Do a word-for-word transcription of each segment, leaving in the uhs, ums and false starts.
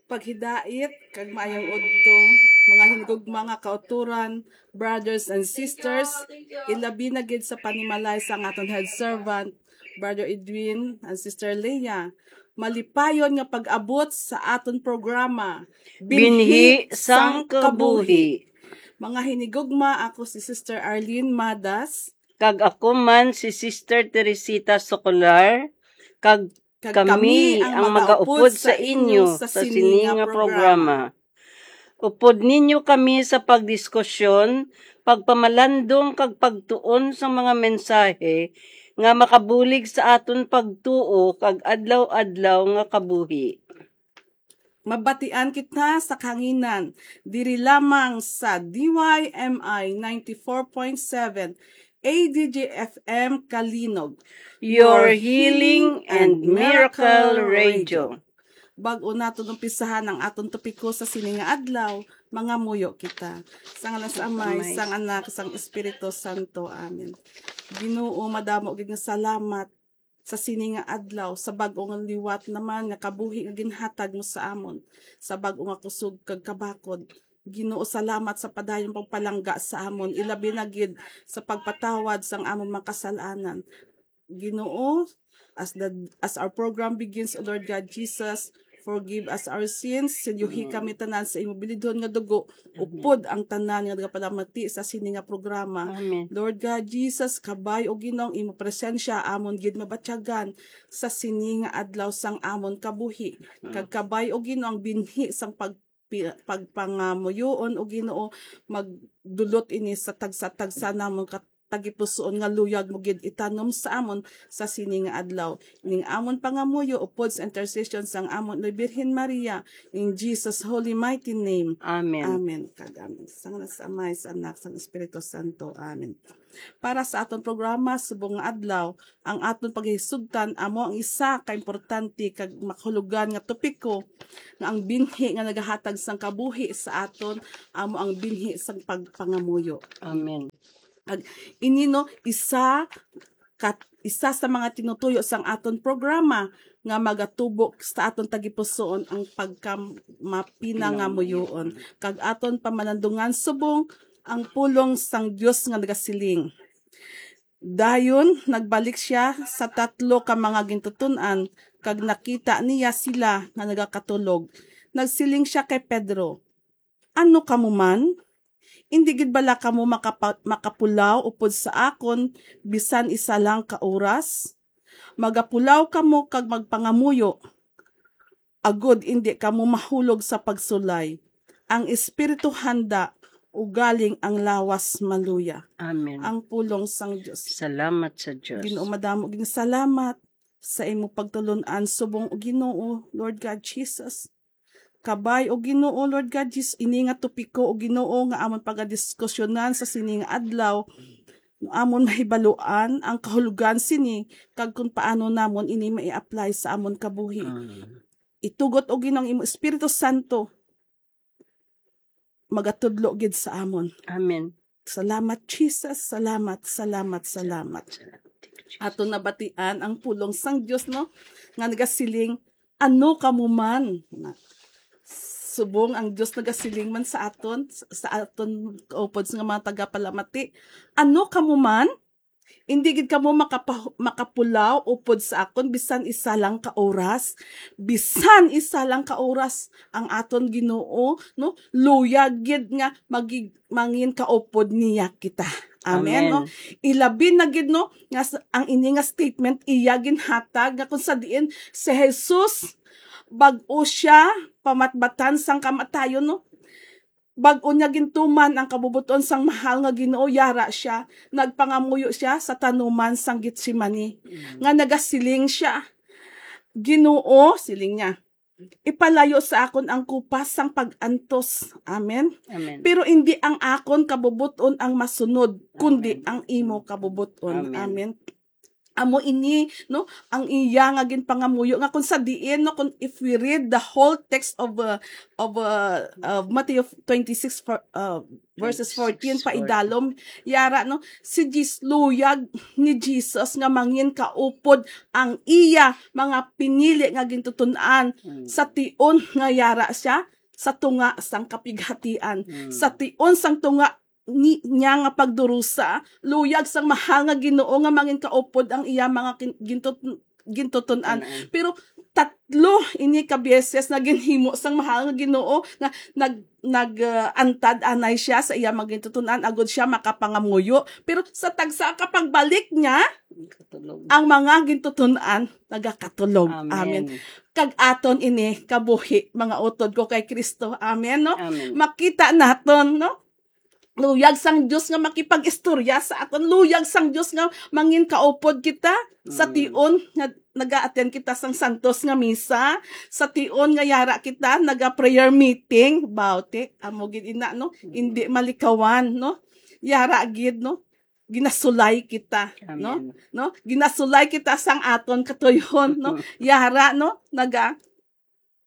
Paghidait kag maayong udto, mga hinigugma nga kautoran, brothers and sisters, ilabi na gid sa panimalay sang aton head servant, Brother Edwin and Sister Leah. Malipayon nga pag-abot sa aton programa, Binhi sang Kabuhi. Mga hinigugma, ako si Sister Arlene Madas. Kag ako man si Sister Teresita Socolar, kag Kag kami kami ang ang magaupod magaupod sa sa inyo inyo sa sa sini sini nga nga programa. Upod ninyo kami sa pagdiskusyon, pagpamalandong, kag pagtuon sa mga mensahe nga makabulig sa aton pagtuo kag adlaw-adlaw nga kabuhi. Mabatian kita sa kahanginan, diri lamang sa D Y M I ninety-four point seven A D G F M Kalinog, Your Healing and Miracle Radio. Bag-o naton umpisahan ang aton topiko sa sini nga adlaw, mangamuyo kita. Sa ngalan sa Amay, Amay. Sang Anak, sang Espiritu Santo. Amen. Ginoo, madamo gid nga salamat sa sini nga adlaw, sa bag-o nga liwat naman nga kabuhi nga ginhatag mo sa amon, sa bag-o nga kusog kag kabakod. Ginoo, salamat sa padayon pagpalangga sa amon, ilabi na gid sa pagpatawad sang amon mga kasalanan. Ginoo, as the, as our program begins, O Lord God Jesus, forgive us our sins. Silyuhi Amen. Kami tanan sa imo bilidhon nga dugo, Amen. Upod ang tanan nga nagapalamati sa sini nga programa. Amen. Lord God Jesus, kabay, O Ginoo, ang imo presensya amon gid mabatyagan sa sini nga adlaw sang amon kabuhi. Amen. Kag kabay, O Ginoo, ang binhi sang pag-, pi-, pagpangamuyoon, O Ginoo, magdulot ini sa tagsa-tagsa namon kat-, tagipusoon nga luyag mo gid itanom sa amon sa sini nga adlaw. Ning amon pangamuyo upod sa intercession sang amon Loy Birhen Maria, in Jesus' holy mighty name. Amen. Amen. Kag amen. Sa ngalan sa Amay, sa Anak, sa Espiritu Santo. Amen. Para sa aton programa subong nga adlaw, ang aton paghisugtan amo ang isa ka importante kag makahulugan nga topiko, nga ang binhi nga nagahatag sang kabuhi sa aton amo ang binhi sang pagpangamuyo. Amen. Ag-, ini, no, isa ka, isa sa mga tinutuyo sang aton programa nga magatubo sa aton tagipusoon ang pagkamapinangamuyoon, kag aton pamalandungan subong ang pulong sang Dios nga nagasiling. Dayon nagbalik sia sa tatlo ka mga gintuton-an, kag nakita niya sila nga nagakatulog. Nagsiling sia kay Pedro, "Ano kamo man? Indi gid bala kamo makapa-, makapulaw upod sa akon bisan isa lang ka oras? Magapulaw kamo kag magpangamuyo, agod indi kamo mahulog sa pagsulay. Ang espiritu handa, ugaling ang lawas maluya." Amen. Ang pulong sang Dios. Salamat sa Dios. Ginoo, madamo gid salamat sa imo pagtulon-an subong, O Ginoo, Lord God Jesus. Kabay, O Ginoo, Lord God Jesus, ini nga topiko, O Ginoo, nga amon pagadiskusyonan sa sini nga adlaw, amon mahibaluan ang kahulugan sini kag kung paano namon ini mai-apply sa amon kabuhi. Mm. Itugot, O Ginoo, ang imo Espiritu Santo magatudlo gid sa amon. Amen. Salamat, Jesus. Salamat, salamat, salamat. Aton nabatian ang pulong sang Dios, no? Nga nagasiling, "Ano kamo man?" Na, subong ang Dios nagasiling man sa aton, sa aton kaupod nga mga tagapalamati, "Ano kamo man? Indi gid kamo makapa-, makapulaw upod sa akon bisan isa lang ka oras." Bisan isa lang ka oras ang aton Ginoo, no? Luyag gid nga magi-, mangin kaupod niya kita. Amen, Amen. No? Ilabi na gid, no, nga sa, ang ini nga statement iya ginhatag nga kung sa diin si Jesus bag-o siya pamatbatan sang kamatayon, no? Bag-o niya gintuman ang kabubot-on sang mahal nga Ginoo, yara siya, nagpangamuyo siya sa tanuman sang Getsemani, Mm. nga nagasiling siya, "Ginoo," siling niya, "ipalayo sa akon ang kupas sang pag-antos." Amen. Amen. "Pero indi ang akon kabubot-on ang masunod, kundi Amen. Ang imo kabubot-on." Amen. Amen. Amo ini, no, ang iya nga ginpangamuyo, nga kung sa diin, no, kung if we read the whole text of, uh, of, uh, of Matthew twenty-six, for, uh, verses fourteen, paidalom, yara, no, si Jis-, luyag ni Jesus nga mangin kaupod ang iya mga pinili nga gintutunan Mm. sa tion nga yara siya sa tunga sang kapighatian, Mm. sa tion sang tunga ni, niya nga pagdurusa, luyag sang mahal nga Ginoo nga mangin kaupod ang iya mga kin-, gintut-, gintutunan. Tunan. Pero tatlo ini ka beses na ginhimo sang mahal nga Ginoo nga nag-, nag, ah, antad anay siya sa iya mga gintutunan agod siya makapangamuyo. Pero sa tagsa ka pagbalik niya, Katulog. ang mga gintutunan nagakatulog. Amen. Amen. Kag aton ini kabuhi, mga utod ko kay Kristo. Amen, no? Amen. Makita naton, no? Luyag sang Dios nga makipag-istorya sa aton. Luyag sang Dios nga mangin kaupod kita sa Mm. tion nga naga-attend kita sang santos nga misa, sa tion nga yara kita naga-prayer meeting. Bawti, amo gid ina, no? Mm. Hindi malikawan, no? Yara gid, no? Ginasulay kita, no? Amen. No? Ginasulay kita sang aton katuyon, no? Mm. Yara, no? Naga,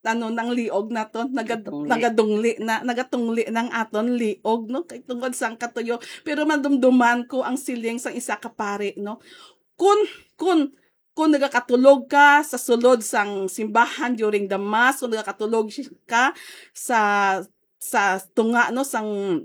ano, nang liog naton, naga-, Tungli. nagadungli na, nagatungli nang aton liog, no? Kay tungod sang katuyo. Pero madumduman ko ang siling sang isa ka pari, no? Kun, kun, kun nagakatulog ka sa sulod sang simbahan during the mass, kun nagakatulog ka sa, sa tunga, no, sang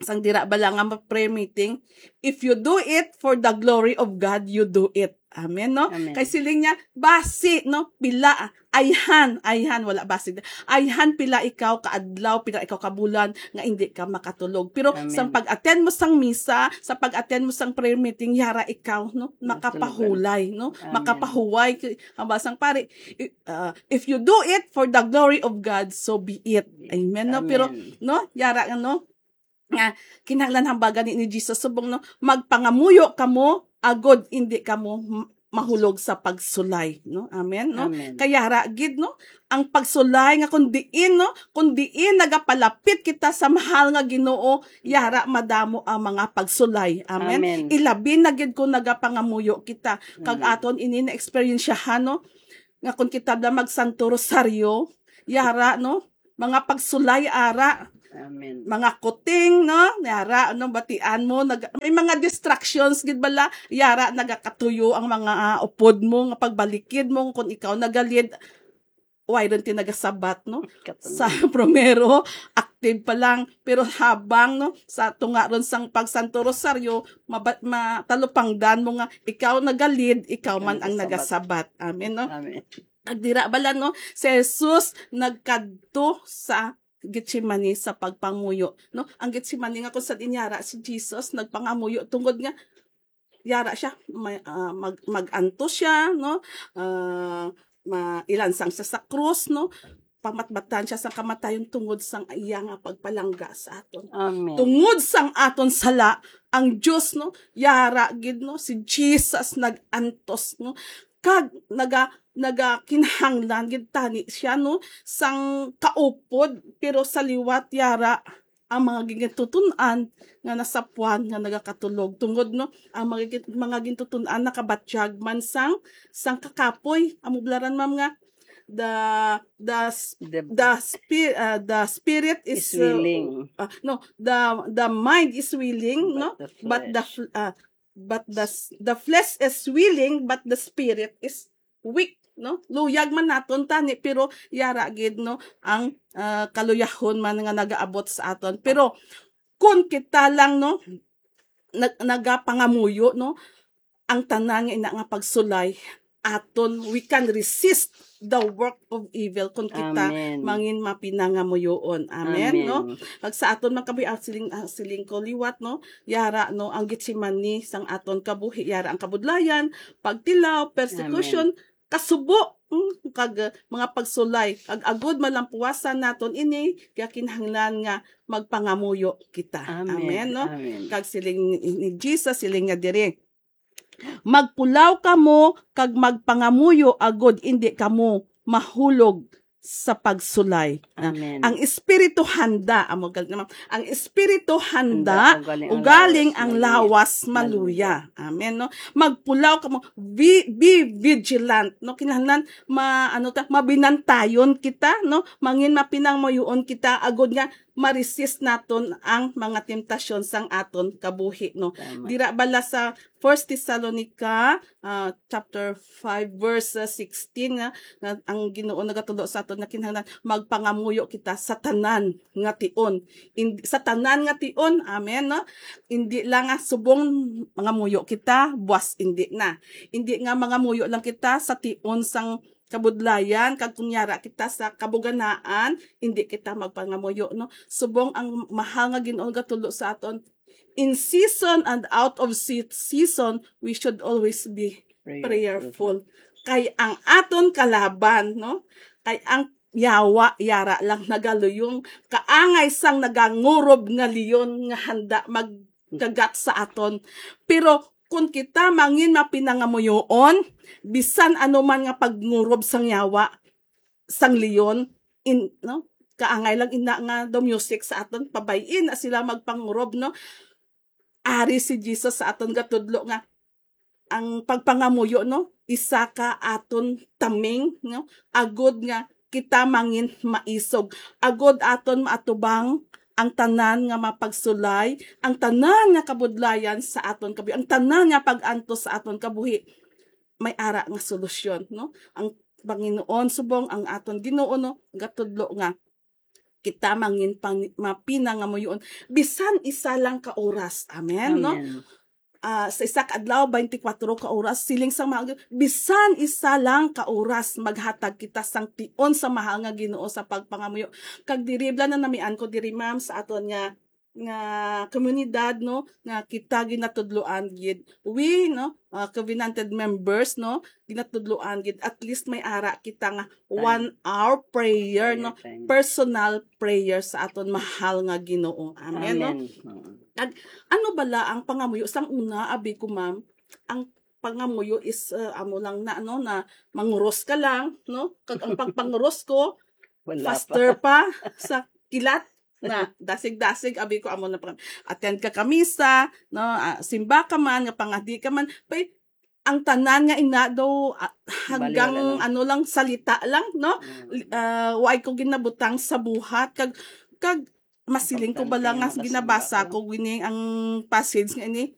sang dira bala nga ma-, prayer meeting, "If you do it for the glory of God, you do it." Amen, no? Amen. Kay siling niya, basi, no, pila, ayhan, ayhan, wala basi. Ayhan pila ikaw ka adlaw, pila ikaw ka bulan nga hindi ka makatulog. Pero Amen. sa pag-attend mo sang misa, sa pag-attend mo sang prayer meeting, yara ikaw, no, Matulog ka. makapahulay, no? Amen. Makapahuway, ang basang pare, i-, ah, "If you do it for the glory of God, so be it." Amen, no? Pero, Amen. no, yara, no? Nga kinahanglan hambagan ni, ni Jesus subong, no, magpangamuyo kamo agod indi kamo m-, mahulog sa pagsulay, no? Amen, no? Amen. Kay yara gid, no, ang pagsulay nga kung diin, no, kung diin nagapalapit kita sa mahal nga Ginoo, yara madamo ang mga pagsulay. Amen. Amen. Ilabi na gid kung nagapangamuyo kita. Kag Amen. aton ini na eksperyensyahan, no, nga kung kita da magsanto rosaryo, yara, no, mga pagsulay ara, Amen. mga kuting, no? Yara, ano, batian mo, nag-, may mga distractions gid bala, yara, nagakatuyo ang mga, ah, upod mo, nga pagbalikid mo, kung ikaw nagalid, why rin tinagasabat, no? Katulog. Sa primero, active pa lang, pero habang, no, sa tunga ron sang pagsanto rosaryo, maba-, matalupangdan mo nga ikaw nagalid, ikaw man ang Nagasabat. nagasabat. Amen, no? Amen. Kag dira bala, no, si Jesus nagkadto sa Getsemani sa pagpangamuyo, no? Ang Getsemani nga kung sa dinyara si Jesus nagpangamuyo tungod nga yara siya, may, ah, mag-, mag-antos siya, no? Ah, ma-, ilansang siya sa krus, no? Pamatbatan siya sa kamatayon tungod sang iya nga pagpalangga sa aton. Amen. Tungod sang aton sala, ang Dios, no, yara gid, no, si Jesus nag-antos, no, kag naga-, nagakinahanglan gid tani siya, no, sang kaupod, pero sa liwat yara ang mga gintutun-an nga nasapuan nga nagakatulog, tungod, no, ang mga gin-, mga gintutun-an nakabatyag man sang, sang kakapoy. Amo bala ran, ma'am, nga the, the s-, The the spi-, uh, the spirit is, Is uh, willing. uh, no, the, the mind is willing, But no? the But the flesh. fl-, uh, but the s-, the flesh is willing, but the spirit is weak, no? Luyag man naton tani, pero yara gid, no, ang, ah, kaluyahon man nga nagaabot sa aton. Pero kung kita lang, no, nag-, nagapangamuyo, no, ang tanan nga ina nga pagsulay aton, we can resist the work of evil kung kita Amen. mangin mapinangamuyoon. Amen, Amen. no? Pag sa aton man kabuhi, ah, siling, ah, siling ko liwat, no? Yara, no, ang Getsemani sang aton kabuhi, yara ang kabudlayan, pagtilaw, persecution, Amen. kasubo, mm, kag, uh, mga pagsulay. Kag agud malampuwasan naton ini, kaya kinahanglan nga magpangamuyo kita. Amen. Amen, no? Amen. Kag siling ni, ni Jesus, siling nga diri, "Magpulaw kamo kag magpangamuyo agud indi kamo mahulog sa pagsulay. Amen. Ang espiritu handa, amo gal naman. Ang espiritu handa, Handa, ugaling ang ugaling lawas ang maluya. lawas maluya. Amen, no? Magpulaw kamo, be, be vigilant, no? Kinahanglan ma ano ta, mabinantayon kita, no? Mangin mapinangamuyoon kita agod nga ma-resist naton ang mga temptasyon sang aton kabuhi, no? Tama. Dira bala sa First Thessalonica, ah, chapter five, verse sixteen, nga, nga ang Ginoo nagatudlo sa aton nga kinahanglan magpangamuyo kita sa tanan nga tion. In, sa tanan nga tion, amen, no? Indi lang nga subong mangamuyo kita, buas indi na. Indi nga mangamuyo lang kita sa tion sang kabudlayan, kag kung yara kita sa kabuganaan, indi kita magpangamuyo, no? Subong ang mahal nga Ginoo gatudlo sa aton, in season and out of se- season, we should always be prayerful. Kay ang aton kalaban, no? Kay ang yawa, yara lang nagaluyong, kaangay sang nagangurob nga leon nga handa magkagat sa aton. Pero kung kita mangin mapinangamuyoon, bisan ano man nga pagngurob sang yawa, sang leon, in, no? Kaangay lang ina nga daw music sa aton, pabay-i na sila magpangurob, no? Ari si Jesus sa aton gatudlo nga ang pagpangamuyo, no, isa ka aton taming, no, agod nga kita mangin maisog, agod aton maatubang ang tanan nga mapagsulay, ang tanan nga kabudlayan sa aton kabuhi, ang tanan nga pag-antos sa aton kabuhi. May ara nga solusyon, no? Ang Panginoon, subong ang aton Ginoo, no, gatudlo nga kita mangin pang, mapinangamuyoon bisan isa lang ka oras. Amen, no? Amen. Ah, sa isa ka adlaw, twenty-four ka oras, siling sang mga, bisan isa lang ka oras, maghatag kita sang tion sa mahal nga Ginoo sa pagpangamuyo. Kag diri bala na namian ko diri, ma'am, sa aton nga, nga komunidad, no, nga kita ginatudloan gid. We, no, ah, covenanted members, no, ginatudloan gid. At least may ara kita nga one hour prayer, no, Prayer time. Personal prayer sa aton mahal nga Ginoo. Amen, no? Amen. Mm. Ano bala ang pangamuyo? Sang una, abi ko, ma'am, ang pangamuyo is, uh, amo lang na, ano, na manguros ka lang, no? Kag ang pagpanguros ko, Wala faster pa. pa sa kilat na dasig-dasig, abi ko, amo na pa. Attend ka kamisa, no? Ah, simba ka man, nga pangadi ka man, pay, ang tanan nga ina daw, ah, hanggang Bali, wala lang. Ano lang, salita lang, no? Mm. Li- ah, way ko ginabutang sa buhat, kag kag masiling ko ba lang nga Importante nga ginabasa makasimba ka. Ko gini ang passage nga ini,